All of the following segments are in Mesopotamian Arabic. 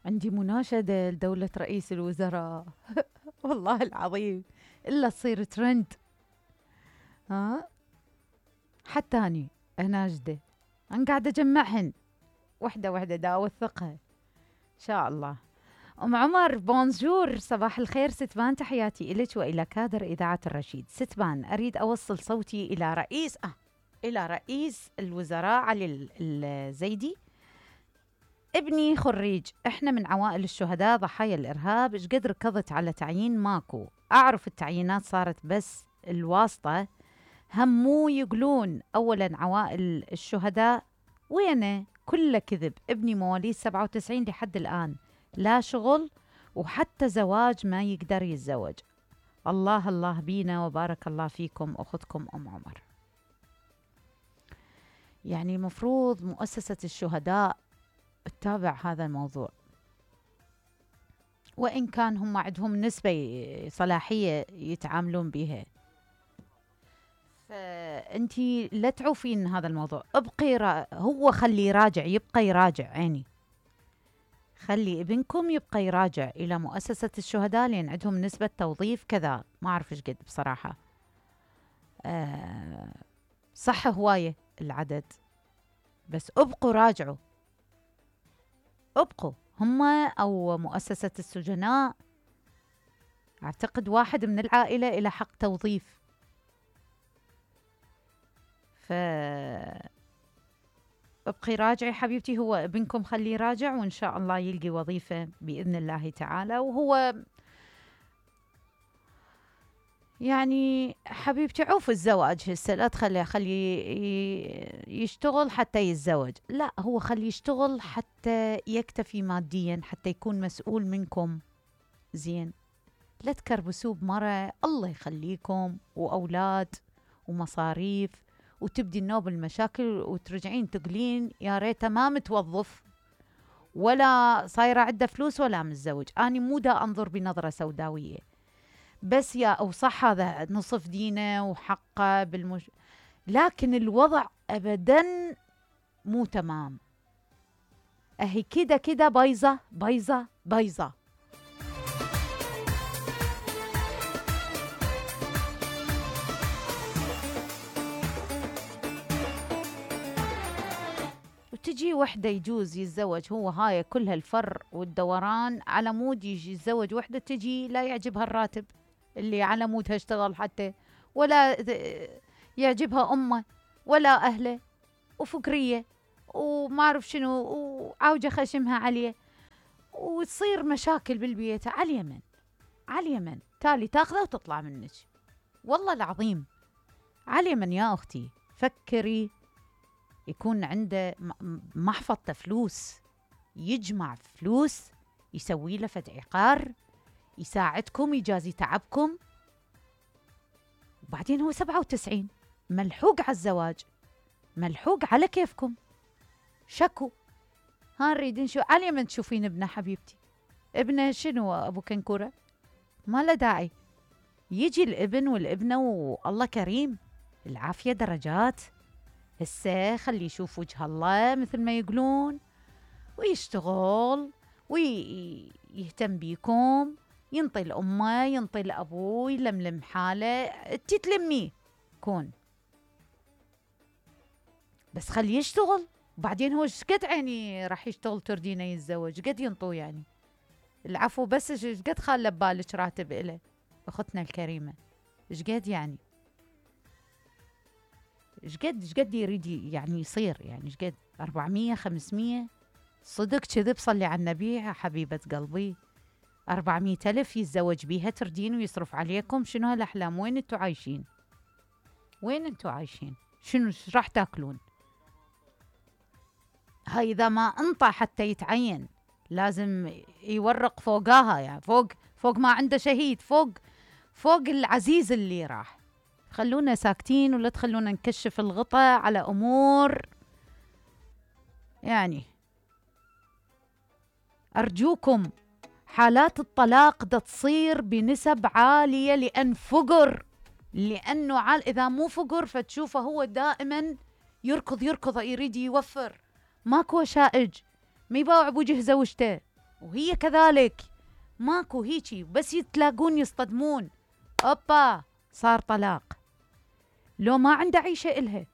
عندي مناشدة لدولة رئيس الوزراء. والله العظيم إلا تصير ترند. ها حتى أني ناجدة، أنا قاعدة أجمعهن وحدة وحدة دا أوثقها إن شاء الله. أم عمر بونجور، صباح الخير ستبان، تحياتي إليك وإلى كادر إذاعة الرشيد. ستبان، أريد أوصل صوتي إلى رئيس الوزراء علي الزيدي. ابني خريج، احنا من عوائل الشهداء ضحايا الإرهاب، ايش قد ركضت على تعيين ماكو، أعرف التعيينات صارت بس الواسطة، همو يقولون أولا عوائل الشهداء وينه، كله كذب. ابني مواليد 97 لحد الآن لا شغل وحتى زواج ما يقدر يتزوج. الله الله بينا وبارك الله فيكم أختكم أم عمر. يعني مفروض مؤسسة الشهداء تتابع هذا الموضوع، وإن كان هم عندهم نسبة صلاحية يتعاملون بها، فأنتي لا تعوفين هذا الموضوع. ابقي هو خلي يراجع، يبقى يراجع عيني، خلي ابنكم يبقى يراجع إلى مؤسسة الشهداء، لأن عندهم نسبة توظيف كذا، ما أعرف إيش قد بصراحة. صح هواية العدد، بس ابقوا راجعوا، ابقوا هم أو مؤسسة السجناء. أعتقد واحد من العائلة إلى حق توظيف، ابقي راجعي حبيبتي، هو ابنكم خليه راجع وإن شاء الله يلقي وظيفة بإذن الله تعالى. وهو يعني حبيبتي عوف الزواج هسه، لا خلي يشتغل حتى يتزوج، لا هو خلي يشتغل حتى يكتفي ماديا، حتى يكون مسؤول منكم زين. لا تكربسوه بمرة، الله يخليكم وأولاد ومصاريف، وتبدي النوب المشاكل وترجعين تقولين يا ريته ما متوظف ولا صايرة عنده فلوس ولا متزوج. أنا مو دا أنظر بنظرة سوداوية، بس يا أو صح هذا نصف دينه وحقه لكن الوضع أبدا مو تمام، أهي كده كده بايظة بايظة بايظة. وتجي وحدة يجوز يتزوج هو، هاي كل هالفر والدوران على مود يجي يتزوج وحدة، تجي لا يعجبها الراتب اللي على مودها اشتغل حتى، ولا يعجبها أمه ولا أهله، وفكرية وما أعرف شنو، وعوجة خشمها عليه، وتصير مشاكل بالبيت على اليمن على اليمن، تالي تاخذه وتطلع منك. والله العظيم على اليمن يا أختي، فكري يكون عنده محفظة فلوس، يجمع فلوس يسوي له فد عقار يساعدكم يجازي تعبكم. وبعدين هو 97 ملحوق على الزواج، ملحوق على كيفكم، شكو. ها نريد نشوف على اليمن تشوفين ابنه حبيبتي، ابنه شنو أبو كنكورة، ما له داعي. يجي الابن والابنة والله كريم، العافية درجات. هسه خلي يشوف وجه الله مثل ما يقولون، ويشتغل ويهتم بيكم، ينطي الأمة ينطي الأبو، يلملم حاله، تتلميه كون، بس خلي يشتغل. وبعدين هو شقد عيني راح يشتغل تردينه يتزوج، قد ينطو يعني العفو، بس شقد خاله ببالك راتب إله أختنا الكريمة، شقد يعني شقد يريد يعني يصير، يعني شقد 400 500 صدق كذب، صلي على النبي يا حبيبة قلبي، 400,000 يتزوج بيها تردين ويصرف عليكم، شنو هالأحلام؟ وين انتو عايشين؟ وين انتو عايشين؟ شنو راح تاكلون؟ هاي إذا ما انطى حتى يتعين لازم يورق فوقاها، يعني فوق ما عنده شهيد، فوق العزيز اللي راح. خلونا ساكتين ولا تخلونا نكشف الغطاء على أمور يعني. أرجوكم، حالات الطلاق دا تصير بنسب عالية لأن فقر، لأنه إذا مو فقر فتشوفه هو دائما يركض يريد يوفر، ماكو شائج، ما يباوع بوجه زوجته، وهي كذلك، ماكو هيجي، بس يتلاقون يصطدمون اوبا صار طلاق. لو ما عنده عيشة إلها،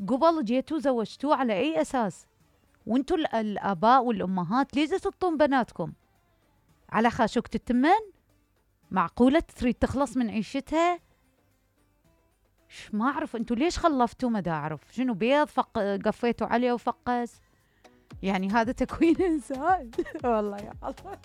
قبل جيتوا زوجتوه على أي أساس؟ وانتوا الآباء والأمهات ليش تسطون بناتكم على خاشوقة التمن؟ معقولة تريد تخلص من عيشتها؟ ما أعرف انتوا ليش خلفتوا، ما دا أعرف شنو بيض قفيتوا عليه وفقس، يعني هذا تكوين إنسان والله يا الله.